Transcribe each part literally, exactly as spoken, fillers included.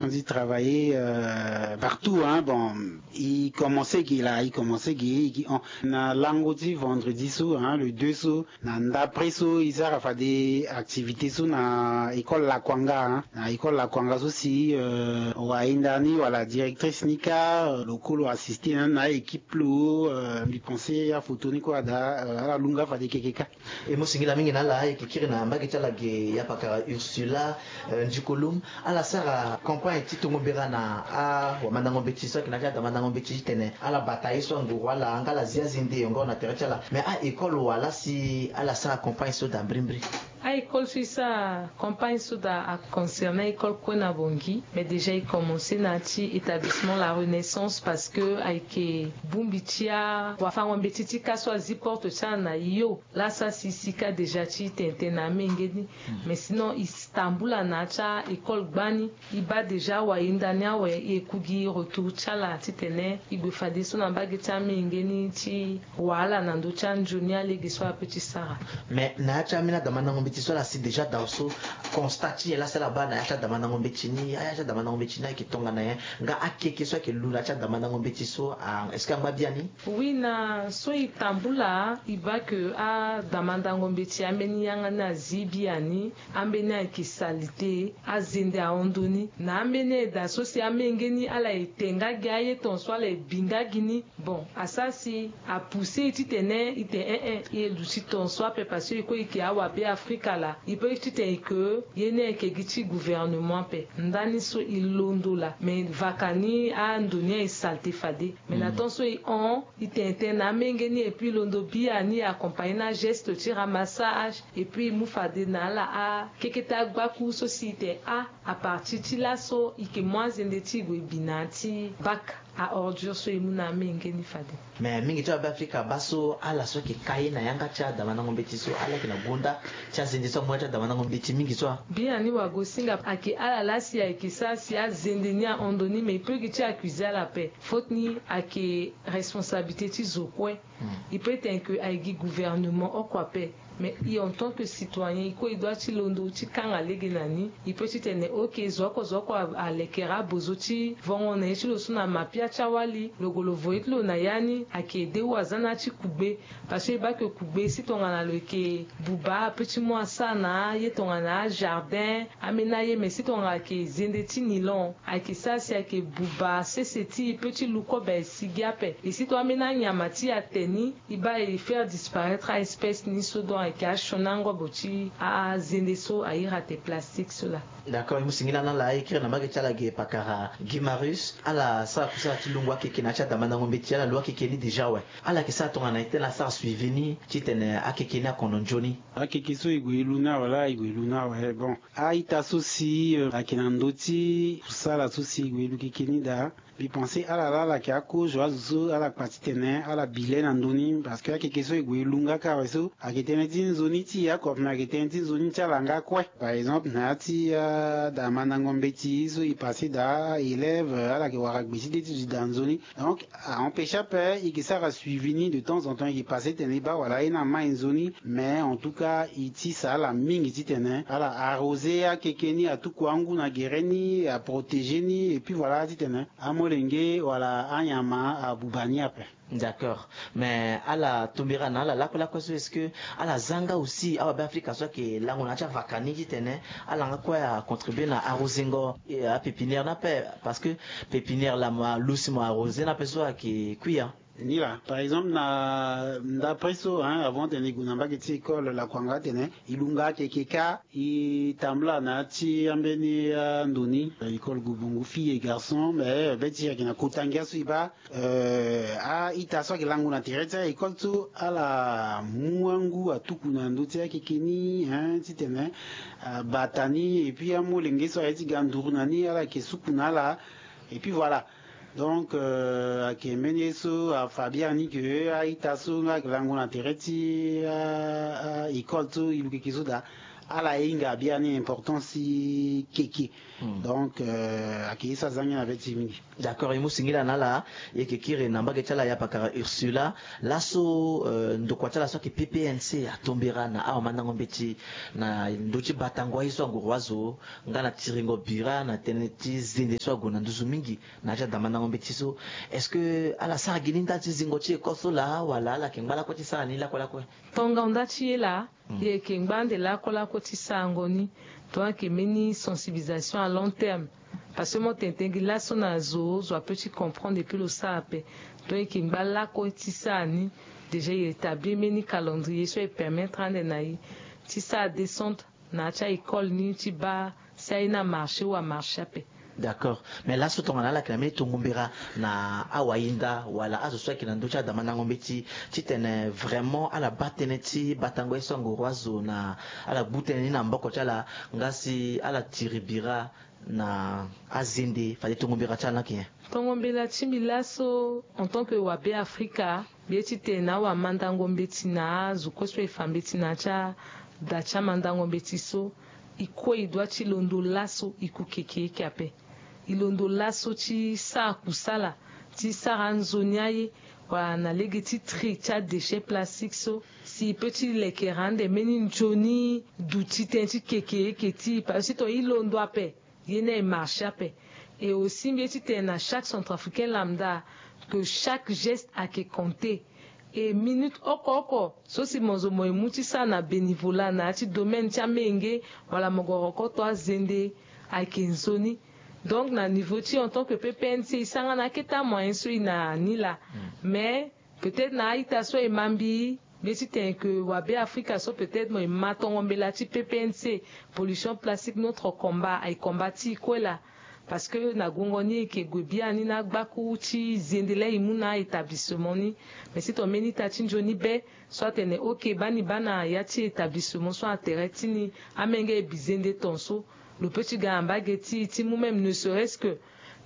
On dit travailler euh, partout, hein. Bon, il commençait qui là, il commençait qui, qui on, na lango ti vendredi so, hein, le deux so, na ndapre so, il sera fa des activités so na école Lakwanga, hein. Na école Lakwanga so si euh, wainda ni wala directrice ni ka euh, lokolo assisté na, na équipe lo euh, mbi pensé ya photo ni quoi da euh, ala lunga fa des kekeka. E mo singila mingi na ala e kikiri na mbage ti ala ge ya pakara Ursula euh, Ndikolum. Ala sara campagne ti tongo mbera na awamandango mbeti so ayeke na ya ti adamandango mbeti titene ala bata ye so anguru ala nga ala zi azende yongo na tere ti ala. Mais a école wala si ala sara campagne so daa mbirimbiri? A école so e sara campagne so daa aconcerné école kue na Bangui, mais déjà e commencé na ya ti établissement La Renaissance parce que ayeke bongbi ti awafango mbeti ti ka so azi porte ti ala na yo. Laa sa si si ka déjà ti tene tene na amenge ni. Mais sinon e tambula na ya ti a-école gbani. E baa déjà awahinda ni awe e ku gi retour ti ala titene e gue fadeso na mbage ti amenge ni ti wahala na ndö ti anzoni alege so ape ti sara. Mais na ya ti ambeni adamandango mbeti so ala si déjà dao so constat ti nyen laa si ala baa na ya ti adamandango mbeti ni, aya ti adamandango mbeti ni ayeke tongana nyen? Nga akeke so ayeke lu na ya ti adamandango mbeti so, est-ce que angba biani? Oui, na so e tambula e baa ke adamandango mbeti ambeni yanga ni azi biani. Ambeni ayeke salite, azende ahon ndoni. Na ambeni aye daa so si amenge ni ala e te nga gi aye tonso ala e bi nga gi ni. Bon, asara si apousse e titene e te en en e ye duti tonso ape parce que e kue e yeke awabe afrika laa. E pe titene e ke ye ni ayeke gi ti gouvernement ape. Ndani so e londo laa me vaka ni ando ni aye salite fade. Mais na temps so e hon e tene tene na amenge ni et puis e londo biani e accompagner na geste ti ramassage. Et puis e mu fade na ala akekete agbaku so si e tene a à partir ti laso e yeke mu azende ti e gue bi na ya ti bac à ordures so e mu na amenge ni fade. Mais mingi ti awabe afrika baa so ala so ayeke ka ye na yanga ti adamandango mbeti so ala yeke na gonda ti azende so amu ya ti adamandango mbeti mingi so a. Biani wagosinga ayeke ala laa si ayeke sara si azende ni ahon ndoni mais e pe gi ti accuser ala ape. Faute ni ayeke responsabilité ti zo kue. E pe tene ke aye gi gouvernement oko ape. Mais e en tant que citoyen e kue e doit ti londo ti kanga lege na ni. E pe titene ok zo oko zo oko alekere abozo ti vongo na ye ti lo so na mapia ti awali lo gue lo vo ye ti lo na ya ni ayeke de ou aza na ya ti kugbe. Parce que e baa ke kugbe si tongana lo yeke buba ape ti mu asara na aye tongana ajardin. Ambeni aye mais si tongana ayeke zende ti nilon ayeke sara si ayeke buba sese ti e pe ti lu kobe si gi ape. E si tongana ambeni anyama ti e ate ni e baa e faire disparaître a-espèce ni so donc ayeke asioni angobo ti azende so ahiri ate plastique so laa. D'accord, e mu singila na ala e kiri na mbage ti ala ge pakara Guy Marius. Ala sara kusala ti lungo akeke na ya ti adamandango mbeti ala lu akeke ni déjà awe. Ala yeke sara tongana nyen ti tene asara suivi ni titene akeke ni akono nzoni? Akeke so e gue e lu ni awe laa e gue e lu ni awe bon. A-ita so si ayeke na ndö ti kusala so si e gue e lu keke ni daa. Mbi pense ala laa ala yeke akozo azo so ala kpa titene ala bi le na ndö ni parce que akeke so e gue e lu nga kâ awe so ayeke tënë ti nzoni ti e oko me ayeke tënë ti nzoni ti ala nga kue. Par exemple na ya ti adamandango mbeti so e passe daa élève ala yeke wara gbe ti de ti duti daa nzoni. Donc a empêche ape e yeke sara suivi ni de temps en temps e yeke passe tene e baa wala aye ni amai nzoni. Mais en tout cas e tisa ala mingi titene ala arrosé akeke ni atuku angu na gere ni aprotéger ni et puis voilà titene amolenge wala anyama abuba ni ape. D'accord. Mais ala tombera na ala lakue lakue so est-ce que ala za nga aussi awabe afrika so ayeke lango na ya ti avaka ni titene ala nga kue acontribue na arrosengo apépinière ni ape? Parce que pépinière laa mo alusi mo arrosé ni ape so ayeke kui ya. Ni laa par exemple na ndapre so hein avant tene e gue na mbage ti école lakuanga tene e lunga akeke kâ. E tambula na ya ti ambeni ando ni école gobongo fille et garçon mais be ti e ayeke na kota ngia so e baa a-ita so ayeke lango na tere ti a-école so ala mu angu atuku na ndö ti akeke ni hein titene abata ni et puis amolenge so aye ti ga nduru na ni ala yeke suku na ala. Et puis voilà. Donc ayeke mbeni ye so afa biani ke a-ita so nga ayeke lango na tere ti a-école so e lu keke so daa. Ala hinga biani importance ti keke. Donc, euh, ayeke ye so azangi na be ti mingi. D'accord, e mu singila na ala. E yeke kiri na mbage ti ala ya pakara Ursula. Laso, euh, ndokua ti ala so ayeke P P N C atombera na awamandango mbeti na ndö ti batango aye so anguru azo nga na tiringo bira na tënë ti zende so ague na nduzu mingi na ya ti adamandango mbeti so. Est-ce que ala sara gi ni nda ti zingo ti école so laa wala ala yeke ngba lakue ti sara ni lakue lakue? Tonga nda ti ye laa. E yeke ngba ande lakue lakue ti sarango ni. Donc ayeke mbeni sensibilisation à long terme. Parce que mo tene tene gi laso na zo zo ape ti comprendre epui lo sara ape. Donc e yeke ngba lakue ti sara ni. Déjà e établir mbeni calendrier so e permettre ande na e ti sara descente na ya ti a-école ni ti baa si aye ni amarché ou amarché ape. D'accord. Mais laso tongana ala yeke na mbeni tongo mbera na awahinda wala azo so ayeke na ndö ti adamandango mbeti titene vraiment ala baa tënë ti batango ye so angoro azo na ala gbu tënë ni na maboko ti ala nga si ala tiri bira na azende fade tongo mbera ti ala ni ayeke nyen? Tongo mbela ti mbi laso en tant que wabe afrika, mbi ye titene na awamandango mbeti na azo kue so e fa mbeti na ya ti ada ti amandango mbeti so, e kue e dua ti londo laso e ku kekereke ape. E londo laso ti sara kusala ti sara anzoni aye wala na lege ti tri ti adéchet plastique so, si e peut ti lekere ande mbeni nzoni duti tënë ti kekereke ti e parce que si tongana e londo ape, ye ni aye marché ape. Et aussi mbi ye titene na chaque centrafricain lambda que chaque geste ayeke compter. Et minute oko oko so si mo zo mo ye mu ti sara na bénévolat na ya ti domaine ti amenge wala mo gue rokoto azende, ayeke nzoni. Donc na niveau ti en tant que ppnc e sara nga na akete amoyen so e na ni laa. Mais peut-être na a-ita so e ma mbi, mbi ye titene ke wabe afrika so peut-être mo e ma tongo mbela ti ppnc, pollution plastique notre combat, aye combat ti e kue laa. Parce que na guengo ni e yeke gue biani na agbaku ti zende laa e mu na a-établissement ni. Mais si tongana mbeni ita ti nzoni be so atene ok baa ni baa na ya ti établissement so na tere ti ni, amenge e bi zende ton so, lo peut ti ga na mbage ti e ti mu même ne serait-ce que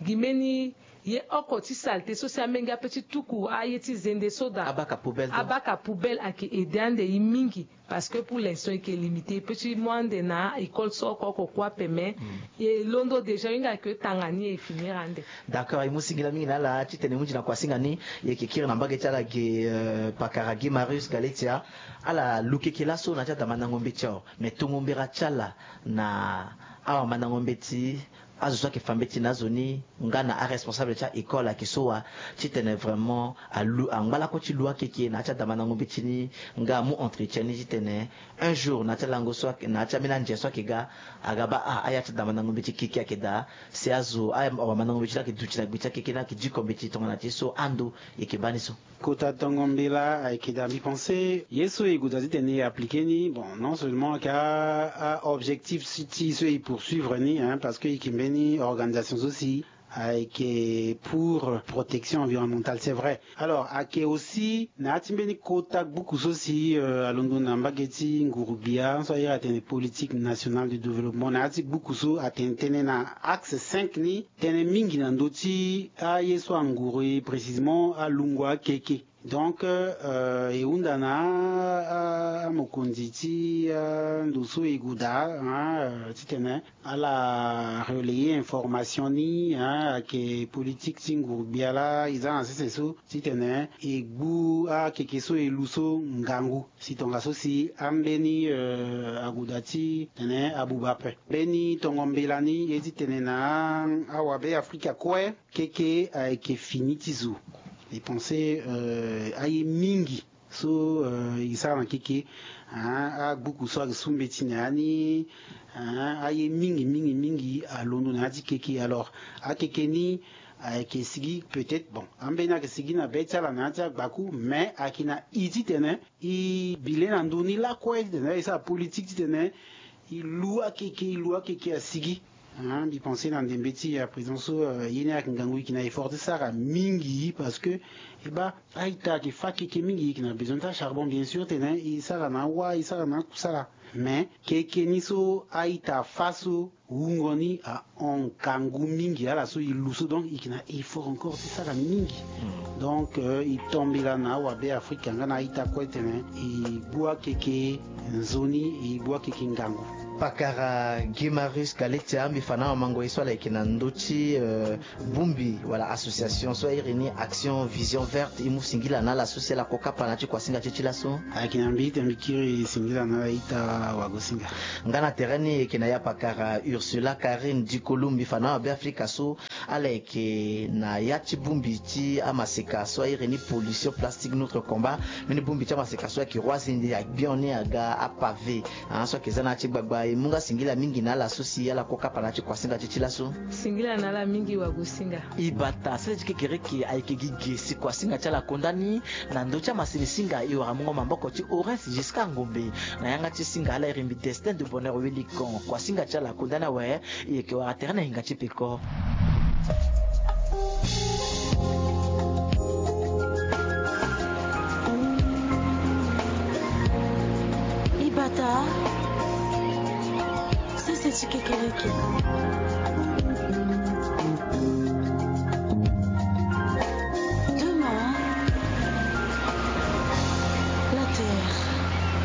gi mbeni ye oko ti saleté so si amenge ape ti tuku aye ti zende so daa. Abaka poubelle donc. Abaka poubelle ayeke aidé ande e mingi. Parce que pour l'instant e yeke limité, e peut ti mu ande na école so oko oko kue ape mais e londo déjà e hinga ke tanga ni e finir ande. D'accord, e mu singila mingi na ala titene e mu nzi na kuasinga ni. E yeke kiri na mbage ti ala ge, euh, pakara ge Marius Galetia. Ala lu keke laso na ya ti adamandango mbeti awe. Mais tongo mbera ti ala na awamandango mbeti, azo so ayeke fa mbeti na azo ni nga na aresponsable ti a-école ayeke so wa titene vraiment alu angba lakue ti lu akeke na ya ti adamandango mbeti ni nga amu entretien ni titene un jour na ya ti alango so ayeke na ya ti ambeni anze so ayeke ga, aga baa ah aya ti adamandango mbeti keke ayeke daa. Si azo awamandango mbeti ni ayeke duti na gbe ti akeke ni ayeke diko mbeti tongana ti so ando e yeke baa ni so. Kota tongo mbela ayeke daa mbi pense ye so e gue daa titene e appliquer ni bon non seulement ayeke a-objectif ti so e poursuivre ni hein parce que e yeke mbeni organisation so si ayeke pour protection environnementale c'est vrai. Alors ayeke aussi na ya ti mbeni kota gbuku so si alondo na mbage ti nguru-gbia so aye atene politique nationale de développement na ya ti gbuku so atene tënë na axe cinq ni tënë mingi na ndö ti aye so anguru e précisément alungo akeke. Donc e hunda na amokonzi ti ndo so e gue daa titene ala relayer information ni ayeke politique ti nguru-gbia laa e za na sese so titene e gbu akeke so e lu so ngangu si tongaso si ambeni ague daa titene abuba ape. Mbeni tongo mbela ni e ye titene na awabe afrika kue keke ayeke fini ti zo. E pense aye mingi so e sara na keke agbuku so ayeke su mbeti na ya ni aye mingi mingi mingi alondo na ya ti keke alors akeke ni ayeke sigi peut-être bon ambeni ayeke sigi na be ti ala na ya ti agbaku mais ayeke na i titene e bi le na ndö ni lakue titene e sara politique titene e lu akeke e lu akeke asigi. Mbi pense na ndembe ti ya président so ye ni ayeke ngangu, e yeke na effort ti sara mingi parce que e baa a-ita ayeke fa keke mingi. E yeke na besoin ti acharbon bien sûr tene e sara na awa, e sara na akusala. Mais keke ni so a-ita afa so wungo ni ahon ngangu mingi ala so e lu so, donc e yeke na effort encore ti sara mingi. Donc e tombela na awabe afrika nga na a-ita kue tene e gbu akeke nzoni, e gbu akeke ngangu. Pakara Guy Marius Kaletia, mbi fa na awamango ye so ala yeke na ndö ti bongbi wala association so a iri ni Action Vision Verte, e mu singila na ala so si ala ko kapa na ya ti kuasinga ti e ti laso. Ayeke na mbi tene mbi kiri singila na ala ita wagosinga. Nga na tere ni e yeke na ya pakara Ursula Carine Dikolu, mbi fa na awabe afrika so ala yeke na ya ti bongbi ti amaseka so a iri ni Pollution Plastique Notre Combat. Mbeni bongbi ti amaseka so ayeke roi zindi agbion ni aga apave. Ah, so ayeke za na ya ti gbagba, e mu nga singila mingi na ala so si ala ko kapa na ya ti kuasinga ti e ti laso. Singila na ala mingi wagosinga. E bata sese ti kekereke ayeke gi ge si kuasinga ti ala akonda ni na ndö ti amasini singa e wara mungo maboko ti Horace Giscard Ngombe. Na yanga ti singa ala iri mbi Destin de Bonheur Welikon, kuasinga ti ala akonda ni awe. E yeke wara tere na hinga ti peko. E bata sese ti kekereke.